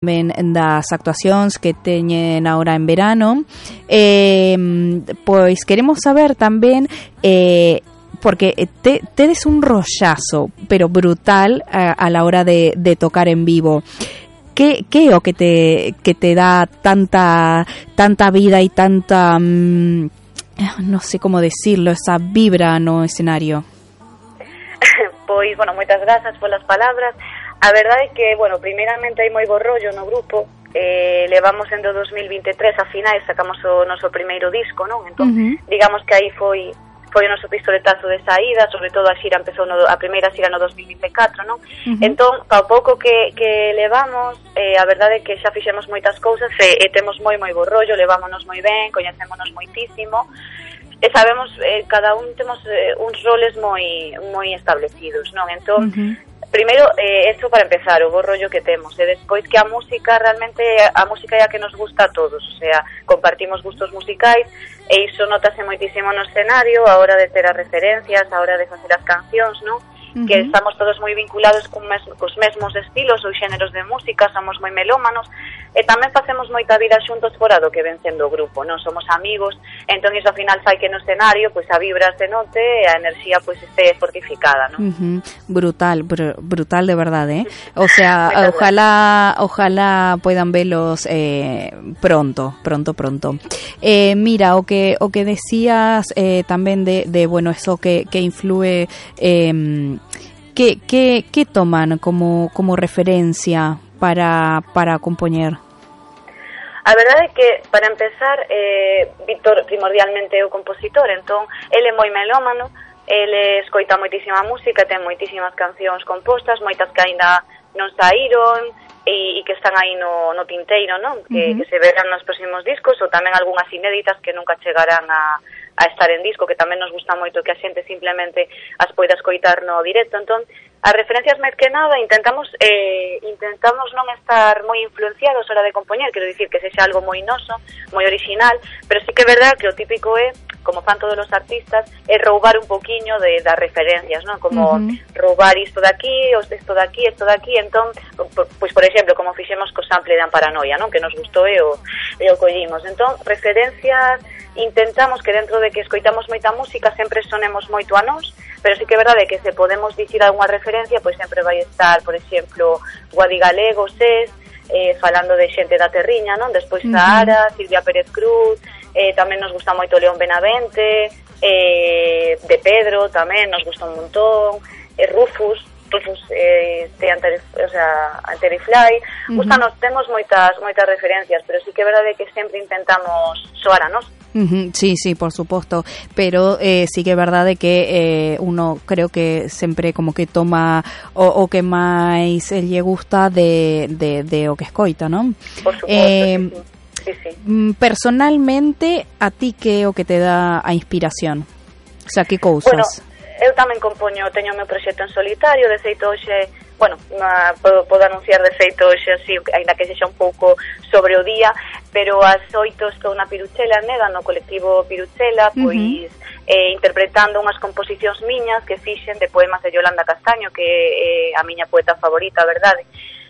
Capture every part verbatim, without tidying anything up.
Ben das actuacións que teñen ahora en verano, eh, pois queremos saber tamén eh, porque te, tedes un rollazo pero brutal a, a la hora de, de tocar en vivo. Que que é o que te que te dá tanta tanta vida e tanta um, non sei como decirlo, esa vibra no escenario? Pois, bueno, moitas grazas polas palabras. A verdade é que, bueno, primeiramente hai moi bo rollo no grupo. Eh, levamos en do dos mil vinte e tres a finais, sacamos o noso primeiro disco, non? Entón, uh-huh. digamos que aí foi foi o noso pistoletazo de saída, sobre todo a xira empezou no, a primeira xira no dos mil vinte e catro, non? Uh-huh. Entón, pa pouco que, que levamos, eh, a verdade é que xa fixemos moitas cousas e, e temos moi moi bo rollo, levámonos moi ben, coñecémonos moitísimo. E sabemos, eh, cada un temos eh, uns roles moi moi establecidos, non? Entón, uh-huh. primeiro, eh, eso para empezar, o bo rollo que temos, e despois que a música, realmente, a música é a que nos gusta a todos, o sea, compartimos gustos musicais, e iso notase moitísimo no escenario, a hora de ter as referencias, a hora de facer as cancións, non? Uh-huh. Que estamos todos moi vinculados con mes, cos mesmos estilos ou xéneros de música, somos moi melómanos, e tamén facemos moita vida xuntos fora do que ven sendo o grupo, non somos amigos, entón iso ao final fai que no escenario pois a vibra se note e a enerxía pois este fortificada, non? Uh-huh. Brutal, br brutal de verdade, eh? O sea, ojalá ojalá puedan velos eh, pronto, pronto, pronto. Eh, mira, o que o que decías eh, tamén de, de bueno, eso que, que influye eh, ¿Qué, qué, qué toman como, como referencia para, para compoñer? A verdade é que, para empezar, eh, Víctor primordialmente é o compositor, entón, ele é moi melómano, ele escoita moitísima música, ten moitísimas cancións compostas, moitas que aínda non saíron, e, e que están aí no, no tinteiro, non? Que, uh-huh. que se verán nos próximos discos, ou tamén algunhas inéditas que nunca chegarán a, a estar en disco, que tamén nos gusta moito que a xente simplemente as poida escoitar no directo. Entón, as referencias máis que nada intentamos eh, intentamos non estar moi influenciados a hora de compoñer, quero dicir que sexa algo moi noso, moi original, pero sí que é verdad que o típico é, como fan todos os artistas, é roubar un poquiño de das referencias, non? Como uh-huh. roubar isto de aquí, isto de aquí, isto de aquí, entón, pois por exemplo, como fixemos co sample de Amparanoia, non? Que nos gustou e o, e o collimos. Entón, referencias, intentamos que dentro de que escoitamos moita música sempre sonemos moito a nós, pero sí que é verdade que se podemos dicir algunha referencia, pois sempre vai estar, por exemplo, Guadi Galego, Sés, eh, falando de xente da Terriña, non? Despois uh-huh. Sahara, Silvia Pérez Cruz, eh, tamén nos gusta moito León Benavente, eh, de Pedro tamén nos gusta un montón, eh, Rufus, Rufus eh, de Anteri, o sea, Anterifly, uh-huh. gustanos, temos moitas moitas referencias, pero sí que é verdade que sempre intentamos soar a nós. Uh-huh, sí, sí, por supuesto, pero eh, sí que é verdade que eh, uno creo que sempre como que toma o, o que máis lle gusta de, de, de o que escoita, non? Por suposto, eh, sí, sí. Personalmente, a ti que é o que te dá a inspiración? O sea, que cousas? Bueno, eu tamén compoño, teño o meu proxecto en solitario, de feito hoxe, bueno, na, podo, podo anunciar de feito hoxe así, ainda que sexa un pouco sobre o día, pero ás oito estou na Piruchela, neda, no colectivo Piruchela, pois uh-huh. eh, interpretando unhas composicións miñas que fixen de poemas de Yolanda Castaño, que é eh, a miña poeta favorita, a verdade.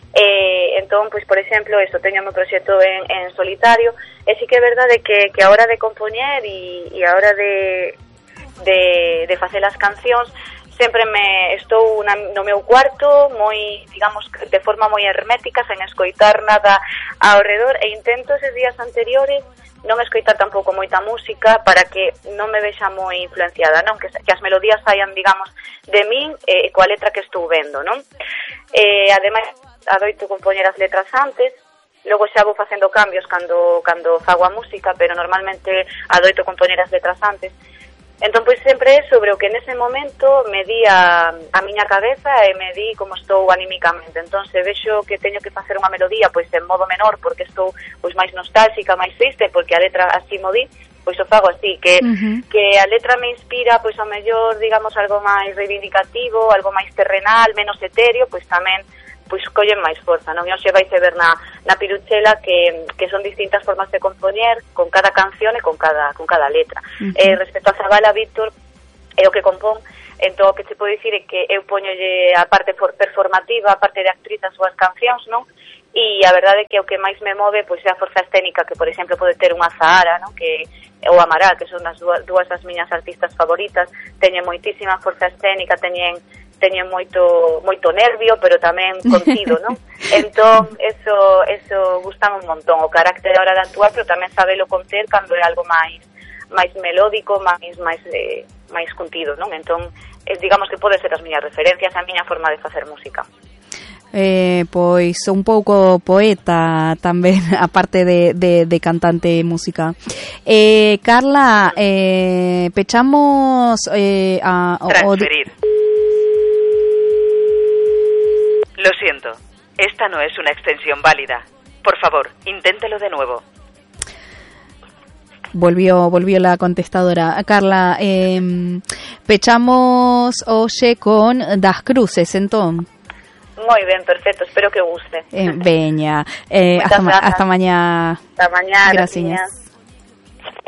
Eh, entón, pois, por exemplo, eso, teño o meu proxecto en, en solitario, e sí que é verdade que, que a hora de compoñer e, e a hora de de, de facer as cancións sempre me estou na, no meu cuarto moi, digamos, de forma moi hermética, sen escoitar nada ao redor, e intento eses días anteriores non escoitar tampouco moita música para que non me vexa moi influenciada, non? Que, que as melodías saian, digamos, de min e eh, coa letra que estou vendo, non? Eh, ademais, adoito compoñer as letras antes, logo xa vou facendo cambios cando, cando fago a música, pero normalmente adoito compoñer as letras antes. Entón, pois, sempre é sobre o que nese momento me di a, a miña cabeza e me di como estou animicamente. Entón, se vexo que teño que facer unha melodía, pois, en modo menor, porque estou, pois, máis nostálxica, máis triste, porque a letra así mo di, pois o fago así, que, uh-huh. que a letra me inspira, pois, ao mellor, digamos, algo máis reivindicativo, algo máis terrenal, menos etéreo, pois, tamén, pois collen máis forza, non? E hoxe vais a ver na, na Piruchela que, que son distintas formas de compoñer con cada canción e con cada, con cada letra. Uh-huh. Eh, respecto a Zabala, Víctor, é o que compón, entón o que te podo dicir é que eu poñolle a parte performativa, a parte de actriz as súas cancións, non? e a verdade é que o que máis me move pois é a forza escénica que, por exemplo, pode ter unha Zahara, non? Que ou Amaral, que son as dúas, dúas das miñas artistas favoritas, teñen moitísima forza escénica, teñen teñen moito moito nervio, pero tamén contido, non? Entón, eso eso gustame un montón, o carácter a hora de actuar, pero tamén sabelo conter cando é algo máis máis melódico, máis máis eh, máis contido, non? Entón, eh, digamos que pode ser as miñas referencias, a miña forma de facer música. Eh, pois un pouco poeta tamén, aparte de, de, de cantante de música. Eh, Carla, eh, pechamos eh, a... Transferir. O... Lo siento, esta no es una extensión válida. Por favor, inténtelo de nuevo. Volvió, volvió la contestadora. Carla, eh, pechamos hoxe con Das Cruces, entón. Moi ben, perfecto, espero que guste. Eh, veña, eh, hasta, ma- hasta mañá. Hasta mañá, gracias.